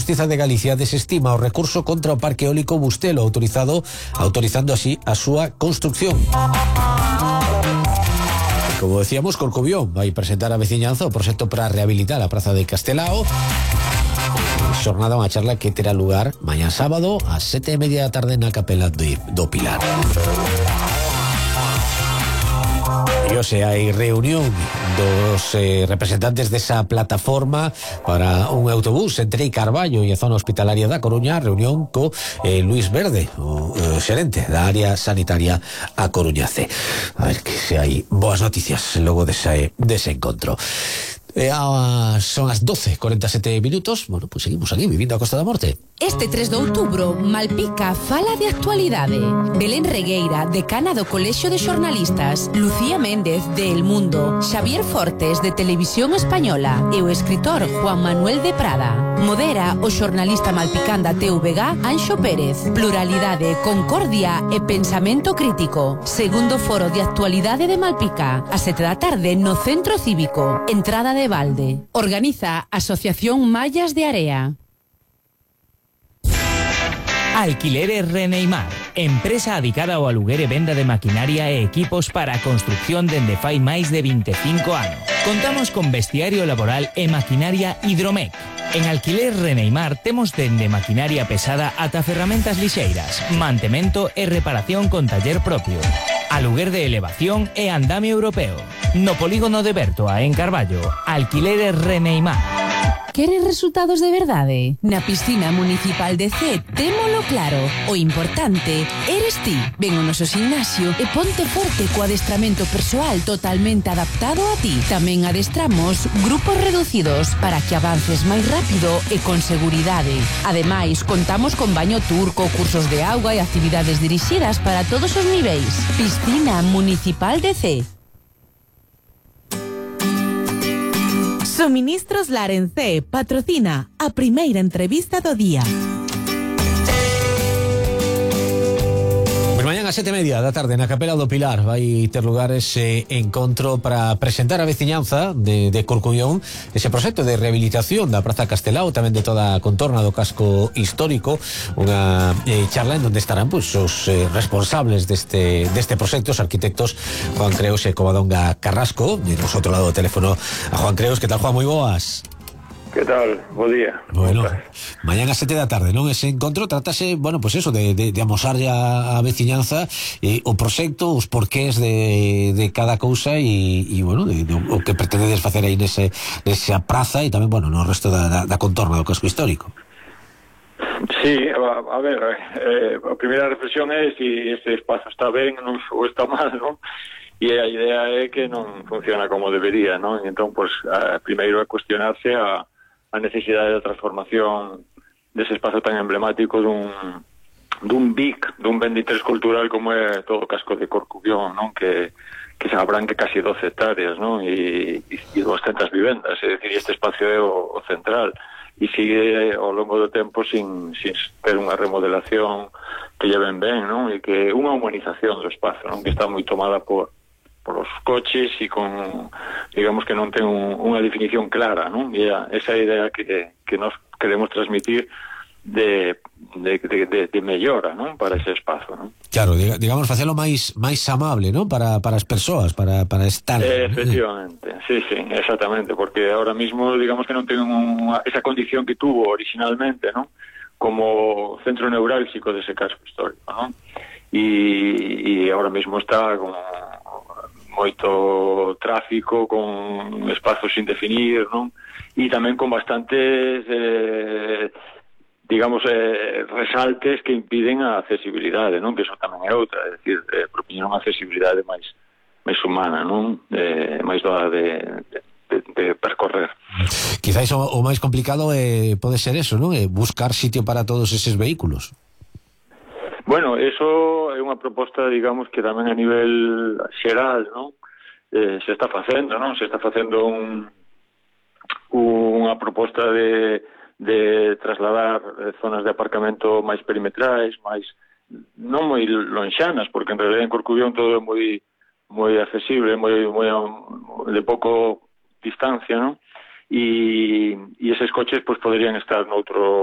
Xustiza de Galicia desestima o recurso contra o parque eólico Bustelo, autorizando así a súa construcción. Como decíamos, Corcubión vai presentar a veciñanza o proxecto para rehabilitar a praza de Castelao. Xornada, unha charla que terá lugar mañá sábado ás 7:30 da tarde na capela do Pilar. E hoxe hai reunión dos representantes desa plataforma para un autobús entre Carballo e a zona hospitalaria da Coruña, reunión co Luis Verde, o xerente da área sanitaria a Coruña C. A ver que se hai boas noticias logo dese encontro. Son as 12:47 minutos. Bueno, pues seguimos aquí vivindo a Costa da Morte. Este 3 de outubro, Malpica fala de actualidade. Belén Regueira, decana do Colexio de Xornalistas, Lucía Méndez, de El Mundo, Xavier Fortes, de Televisión Española, e o escritor Juan Manuel de Prada. Modera o xornalista malpicán da TVG, Anxo Pérez. Pluralidade, concordia e pensamento crítico. Segundo foro de actualidade de Malpica, a 7 da tarde no Centro Cívico. Entrada de balde. Organiza Asociación Mallas de Area. Alquileres Reneimar, empresa adicada ao aluguer e venda de maquinaria e equipos para a construcción dende fai máis de 25 anos. Contamos con vestiario laboral e maquinaria Hidromec. En Alquiler Reneimar temos dende maquinaria pesada ata ferramentas lixeiras, mantemento e reparación con taller propio, aluguer de elevación e andamio europeo. No polígono de Bertoa, en Carballo, Alquileres Reneimar. Queres resultados de verdade? Na piscina municipal de C, témolo claro. O importante eres ti. Ven ao noso gimnasio e ponte forte co adestramento persoal totalmente adaptado a ti. Tamén adestramos grupos reducidos para que avances máis rápido e con seguridade. Ademais, contamos con baño turco, cursos de auga e actividades dirixidas para todos os niveis. Piscina municipal de C. Suministros Larencé patrocina a primeira entrevista do día. Mañán a 7:30 da tarde na capela do Pilar vai ter lugar ese encontro para presentar a veciñanza de Corcubión ese proxecto de rehabilitación da Praza Castelao, tamén de toda a contorna do casco histórico, unha charla en donde estarán pues, os responsables deste proxecto, os arquitectos Juan Creos e Covadonga Carrasco. E nos outro lado do teléfono a Juan Creos. Que tal, Juan? Moi boas. Que tal? Bo día. Bueno, mañán a 7 da tarde, non? Ese encontro trátase, bueno, pues eso, de amosarlle a veciñanza o proxecto, os porqués de cada cousa e bueno, o que pretendedes facer aí nesa praza e tamén, bueno, no resto da contorna do casco histórico. Sí, a ver, a primeira reflexión é se este espazo está ben ou está mal, non? E a idea é que non funciona como debería, non? Entón, pues, primeiro é cuestionarse a necesidade de transformación dese espazo tan emblemático dun BIC, dun ben de interés cultural como é todo o casco de Corcubión, non? Que se abranque casi 12 hectáreas, non? E 200 vivendas, é dicir, este espacio é o central e sigue ao longo do tempo sin ter unha remodelación que lleven ben, non? E que unha humanización do espazo, non? Que está moi tomada por os coches e con, digamos que non ten unha definición clara, non? E esa idea que nos queremos transmitir de mellora, non? Para ese espazo, non? Claro, digamos, facelo máis amable, non? Para as persoas, para estar... Efectivamente, sí, exactamente, porque ahora mismo, digamos que non ten esa condición que tuvo originalmente, non? Como centro neurálxico dese casco histórico, non? E ahora mismo está con moito tráfico, con espazos sin definir, non? E tamén con bastantes digamos resaltes que impiden a accesibilidade, non? Que eso tamén é outra, é dicir, propoñer unha accesibilidade máis humana, non? Máis doada de percorrer. Quizás o máis complicado pode ser eso, non? Buscar sitio para todos eses vehículos. Bueno, eso é unha proposta, digamos, que tamén a nivel xeral, non? Se está facendo, non? Se está facendo unha proposta de trasladar zonas de aparcamento máis perimetrais, máis non moi lonxanas, porque en realidad en Corcubión todo é moi accesible, moi de pouco distancia, non? E eses coches pues poderían estar noutro